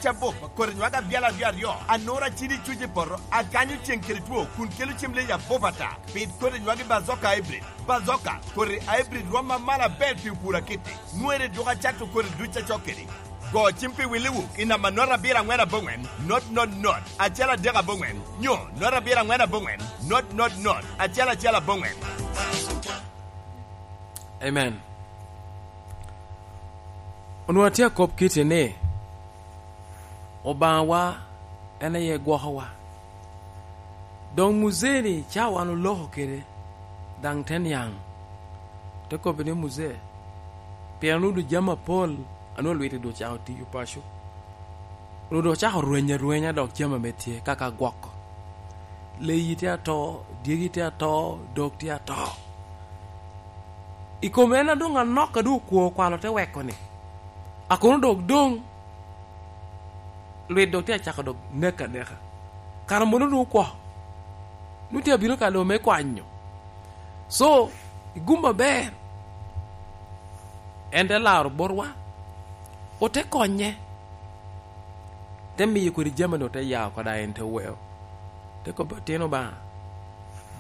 Cabop, kodi nywag abyalo aryo aryo, anura cidi cuc i poto, akanyo ceng kede two kun kelo cem leyi abop ata. Pit kodi nywagi Bazooka Hybrid. Bazooka, kodi hybrid rwom ma malo aber pi pur akiti. Nwere duka cato kodi duc acok kedi. Go cim pi willi wuk i namba not abiro angwen abongwen not not not acel adek abongwen nyo not abiro angwen abongwen not not not acel acel abongwen. Amen. Onongo atye akop kiti ni, Obangawa en aye gwokowa. Dong muzee-ni ca wan oloko kwede dang te niang, te kobbe ni, Muzee, pien onongo dong jami mapol anongo lwite dong ocako tiyo paco, onongo dong ocako rwenyo arwenya dok jami mere tye kaka gwoko. Leyi tye ato, dyegi tye ato, dog tye ato. I kom en adong anok ka dong okwo kwalo te weko-ni, akono dok dong lwit dok tye acako dok nek aneka. Kara mono dong okwo, nongo tye abino ka dong me kwanyo. So, i gum maber, en te laro botwa, ote konye, te miyo kodi jami dong te yao kada en te weo. Te kobbe otino Banga,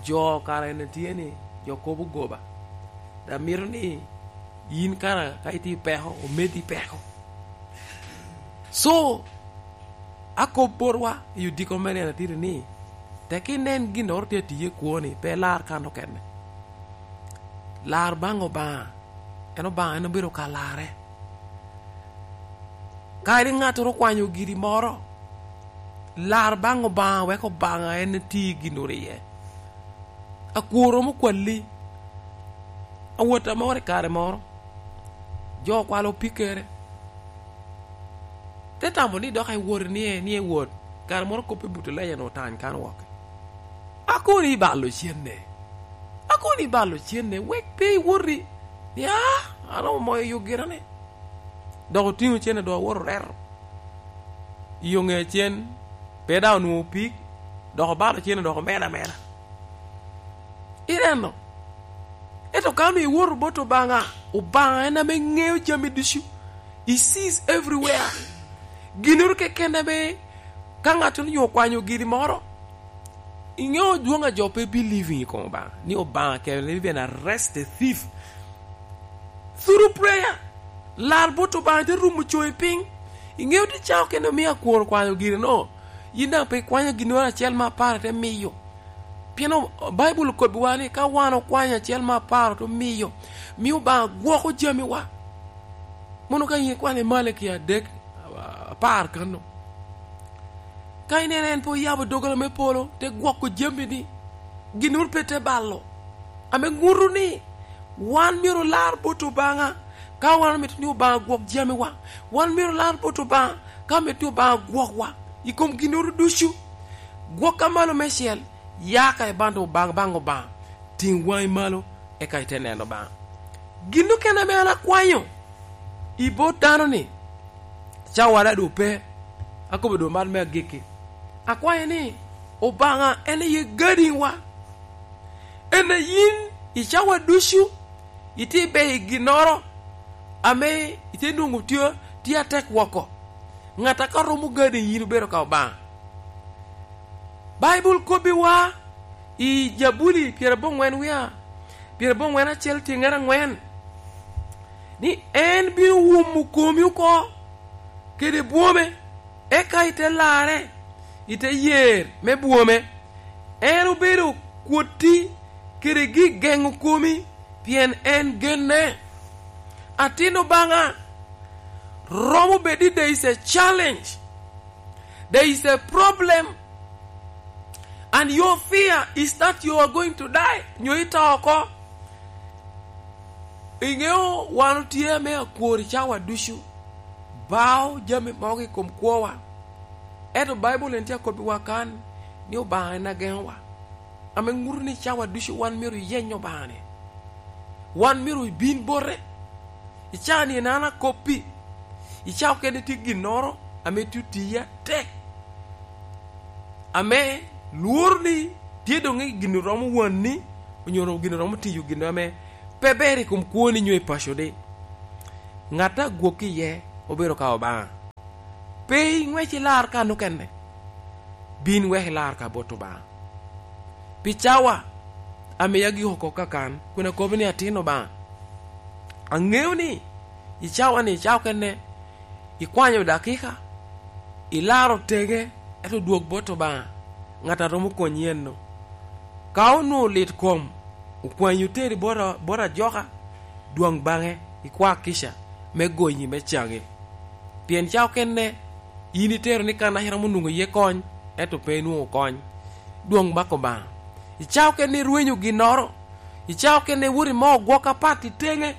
jo kara eni tye ni jo kobo goba, dok mito ni in kara ka itye i peko omedi peko. Co akob botwa i odiko me nino atidi ni, tek inen gin oro tye atiye i kwoni, pe ilar kan okene. Lar bang Obanga, en Obanga en obedo ka larre. Kadi ngat oro okwanyo giri moro, lar bang Obanga wek Obanga en oti gin oro iye. Akwor romo kwali awota moro i kare moro, jo okwalo opikere. Te tamo ni dok ewoti ni ni ewot, kare moro kop i buto lenya nongo otany kan woke. Akoni ibalo cente, akoni ibalo cente wek pe iwoti ni aa aromo moyo yo gira ni. Dok otingo cente dong awoto oreto i yo nge cen pe dong onwongo pig dok obalo cente dok omedo ameda. Ineno? Ento ka onongo iwoto bot Lubanga, Lubanga en ame ngeyo jami ducu. He sees everywhere. Ginoro keken ame ka ngat nyo okwanyo giri moro, ingeyo dwong a jo pe believing i kom Obanga, ni Obanga can even arrest the thief through prayer. Lar bot Obanga ite rumo congi piny. Ingeyo ti cawa kene omiyo akwor okwanyo gire no, in dang pe ikwanyo ginoro acel ma apar ite miyo. Pien Baibul okobiwa ni ka wan okwanyo acel ma apar to miyo, miyo Obanga gwoko jamiwa. Mono ka in ikwano imale ki adek apar kano, ka ineno en pe oyabo doggola me polo te gwoko jamini, ginuru pe te balo. Ame ngutu ni wan myero olar bot Obanga ka wan omito ni Obanga ogwok jamiwa. Wan myero olar bot Obanga ka omito ni Obanga ogwokwa i kom ginuru ducu. Gwokka malo me cel, ya ka ibando bang Obanga, ting wangi malo eka ite neno Obanga. Gin mukene ma an akwanyo i bot dano-ni, cawa dong pe, akobo dong man me agikki. Akwanyo ni Obanga en aye gadingwa, en aye in i cawa ducu itye ber i ginnoro ame itye nongo tye atek woko. Ngat a ka romo gading in obedo ka Obanga. Baibul kobbiwa i Jabuli pyerabongwen wiya pyerabongwen acel tyeng angwen ni en bino wumo komi oko kede bwome eka ite larre ite yer me bwome. En obedo kwoti kede gigengo komi pien en genne. Atin Lubanga romo bed ni there is a challenge, there is a problem and your fear is that you are going to die nyo ito oko. Ingeyo wan otye me akwor i cawa ducu bao jami mogo i kom kwowa. Ento Baibul en tye akobiwa kan ni Obanga en agengowa. Ame nguto ni cawa ducu wan myero oyeny Obanga ni. Wan myero obin bote. I cawa ni en an akoppi. I cawa kene tye ginnoro ame tye otiya tek. Ame lworo ni tye dong ni gin oromo wanni onyo gin oromo tiyo gin ame pe ber i kom kwoni nyo i paconi. Ngat a gwokki iye obedo ka Obanga. Pe ingwec ilar ka nukene, bin wek ilar ka bot Obanga. Pi cawa, amiya giko kok kakan kun akobo ni atin Obanga. Angeyo ni i cawa-ni, i cawa okene ikwanyo dakika, ilaro tenge ento dwog bot Obanga, ngat a romo konyi eno. Ka onongo lit kom okwanyi oteri bot ajoka, dwong bange ikwa kica me gonyi me cangi. Pien ca okene in itero ni kana iromo nongo iye kony ento pe inwongo kony. Dwong bak Obanga. I ca okene irwenyo ginoro. I ca okene iwoto imo gwok apat itenge.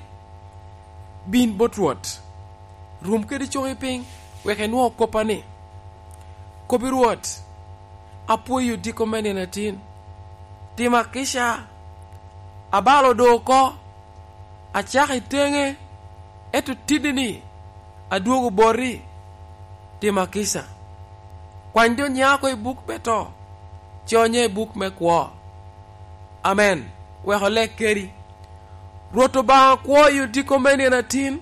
Bin bot Rwot. Rum kede congi piny wek inwo koppa ni, Kobi Rwot, apwoyi odiko me nino atin. Tima kica. Abalo do oko. Acako itenge, ento tiddi-ni adwogo boti. Tima kica. Kwany jo nya oko i buk me to, conye i buk me kwo. Amen. Wek oleg kedi. Rwot Obanga kwo i odiko me nino atin.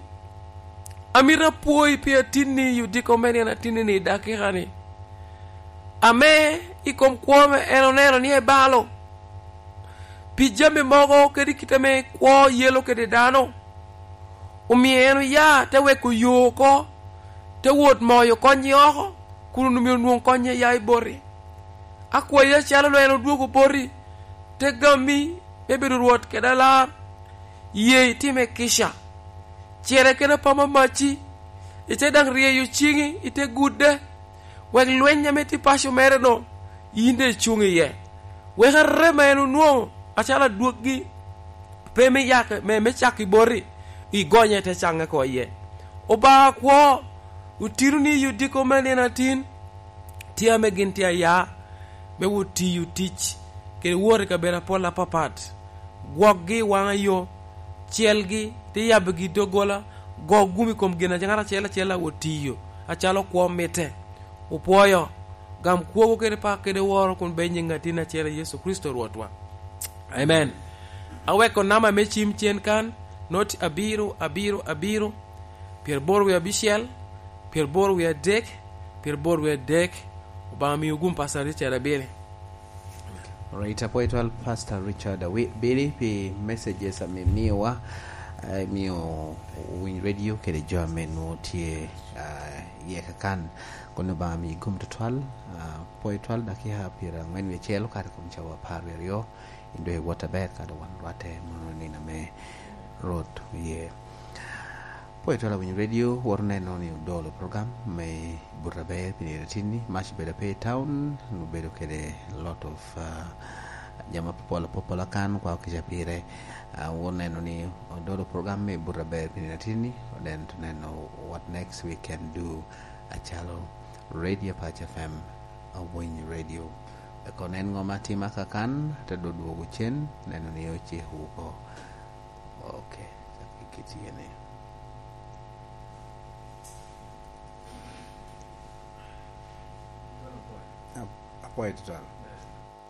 Amito apwoyi pi atinni i odiko me nino atinni-ni i dakika-ni. Ame i kom kwo me en oneno ni ebalo pi jami mogo kadi kite me kwo yelo kede dano. Omiyo en oya te weko yo oko, te wot moyo konnye oko, kun onongo myero onwong konnye ya i boti. Akwayi acalo lweny odwogo boti, te gami me bedo Rwot kede alar, ye itime kica. Cere kede apama maci, ite dang ryeyo cingi ite gudde, wek lweny ame tye paco mere dong in dong icung iye. Wek arem ma en onwongo acalo adwogi pe me yake me caki boti, igonye te cange ko iye. Obanga kwo, otino ni i odiko me nino atin, tye ame gin tye aya me wot tiyo tic kede wot i kabedo apol apapat. Gwokgi i wanga yo, celgi, te yabigi i doggola, go gum i kom gin ngat acel acel a wot tiyo acalo kwo mitte. Wupwoyo, gam kwogo kede pak kede woro kun bed nying atin acel Yecu Kricito Rwotwa. Amen. Aweko namba me cim cen kan, noti abiro, abiro, abiro, pyeraboro wiye abicel, pyeraboro wiye adek, pyeraboro wiye adek. Obanga miyo gum Pastor Richard Abili. Alright, apwoyo twal Pastor Richard Abili pi messages ame imiyowa, imiyo owiny radio kede jo ame nwo tye iye kakan. Kun Lubanga miyi gum twatwal. Apwoyo twal dakika pyerangwen wiye acel okato i kom cawa 12 in dong iwot aber ka dong wan orwatte mono nino me Rwot oye. Apwoyo twal awinyo radio woto neno ni odolo program me buto aber pi nino atinni mac obedo pe i town obedo kede lot of jami mapopol apopola kan kwako kica pire woto neno ni odolo program me buto aber pi nino atinni then to neno what next we can do acalo radio Apac FM awiny radio Eko nen ngo ma atima kakan te do dwogo cen neno ni ociko oko. Ok, kitye ni. Apwoyo tutwal.